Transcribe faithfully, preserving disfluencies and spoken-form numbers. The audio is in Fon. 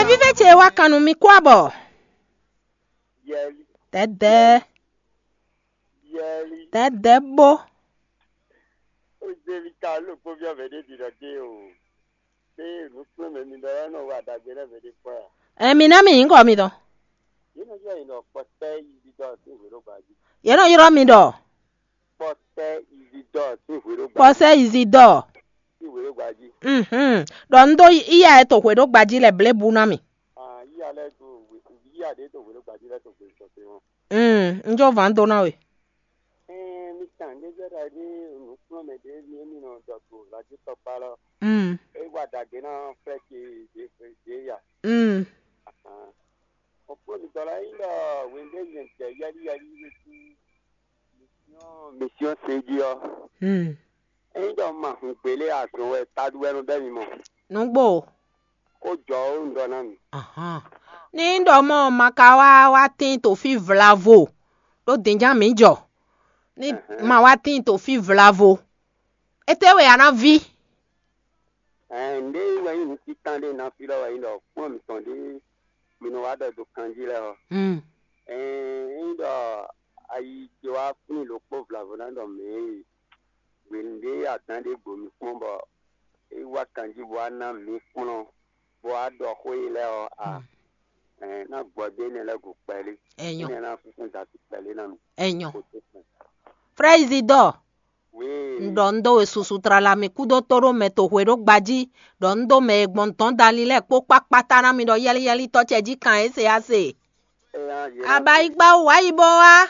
Vívɛ ce wá kan nú mi kú abɔ. Yɛli, Dɛdɛ, yɛli. Dɛdɛ bó. Ozeli ka ló kpó viɔ vɛ ɖé ɖi ɖɔ dé o. Pé nǔkplɔ́nmɛ mi ɖɔ lɛ́ nɔ wa ɖagbe lɛ́ vɛ ɖé kpɔ́ a? Ɛ mi ná mi nyǐkɔ mi tɔn. Yě nɔ yɔ yě nɔ kpɔtɛ yi ɖiɖɔ sín hwě ɖó gba jí. Yě nɔ yrɔ́ mi ɖɔ Kpɔtɛ yi ɖiɖɔ sín hwě ɖó gba jí. Kpɔsɛ Izidɔ. Sín hwě ɖó gba jí. Mhm. Ɖɔ un ɖó iya e to hwe ɖó gbají lɛ blebu ná mi. Ah, yíya lɛ́ɛ dó wě- yíya ɖě dó hwě ɖó gbají lɛ́ɛ dó gbe sɔgbe ɔ́. Mm, un jó vǎn dó ná we. Ɛɛ, mi kan ɖé gbɛ́ ɖa ɖé nǔkplɔ́nmɛ ɖě mi émi nɔ ɖɔ to lajútɔkpá lɔ. Mm. É wa ɖagbe ná flɛ́ ce ɖě ɖě ya. Mm. Ahan. Ɔkplɔ́ mi dɔ la yí ɖɔ wěndé nyɛ jɛ yɛlí yɛlí wé sí mission mission se jí ɔ́. Mm. Ényí ɖɔ un ma hun gbě lé azɔn wɛ taɖu wɛ nɔ bɛ́ mi mɔ. Nǔgbó. Xó jɔ ó un ɖɔ ná mi. Ahán. Ní ɖɔ mɔ ma ka wá wá tín to fí vlavo ɖó dǐnján mǐ jɔ. Ní Ɛhɛn. Ma wá tín to fí vlavo. Étɛ́ wɛ a ná ví? Ɛn, nǔɖé wɛ nyí nǔ títán ɖé ná fí ɖɔ wɛ nyí ɖɔ kplɔ́n mǐtɔn ɖé mi nɔ wá ɖɔ do kanjí lɛ́ɛ ɔ́. Mm. Ɛn, ényí ɖɔ ayi ce wá flín ɖokpó vlavo ná ɖɔ mɛ e hwenu ɖé adǎn ɖé gbo mi kpɔ́n bɔ é wá kanjí bó wá ná mǐ kplɔ́n bó wá ɖɔ xó e lɛ́ɛ ɔ́ a, Mm. Ɛn, ná gbɔ dó énɛ́ lɛ́ɛ go kpɛlí. Enyo. Énɛ́ ná fúnfún da sí kpɛlí ná mi. Enyo. Kò tó kpɛn. Frère Isidore, Oui. Un ɖɔ un ɖó we susu tlala mi kúdó tó ɖó mɛ to hwe ɖó gbají, ɖɔ un ɖó mɛ e gbɔn dɔ̌n dali lɛ́ɛ kpó kpákpátá ná mi ɖɔ yɛ́lí yɛ́lí tɔ́ ce jí kan é se á se. Aba yi gbá wú wá yi bó wá.